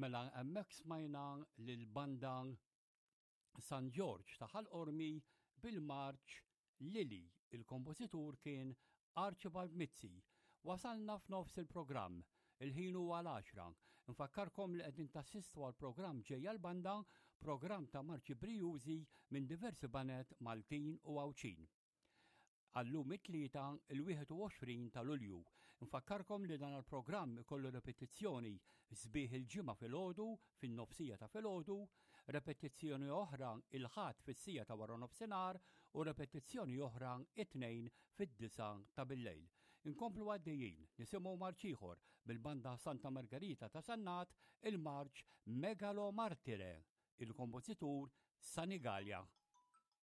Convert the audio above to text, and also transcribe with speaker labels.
Speaker 1: Mela hemmhekk smajna lill-banda San Ġorġ ta' Ħal Qormi bil-marċ Lili. Il-kompożitur kien Archibald Mizzi. Wasalna f'nofs il-programm. Il-ħin huwa l-għaxra. Nfakkarkom li qegħdin tassistu għal programm Ġejja l-Banda, programm ta' marċi brijużi minn diversi baned Maltin u Għawdxin. Għallum it-Tlieta, il-21 ta' Lulju. Nfakkarkom li dan il-programm ikollu repetizzjoni sbieħ il-Ġimgħa filgħodu fin-nofsija ta' filgħodu, repetizzjoni oħra il-Ħadd fis-sija ta' wara nofsinhar u repetizzjoni oħra it-Tnejn fid-disgħa ta' billejl. Inkomplu għaddejjin nisimgħu marċ ieħor mill-Banda Santa Margherita ta' Sannat, il-marċ Megalo Martire, il-kompożitur Sanigallia.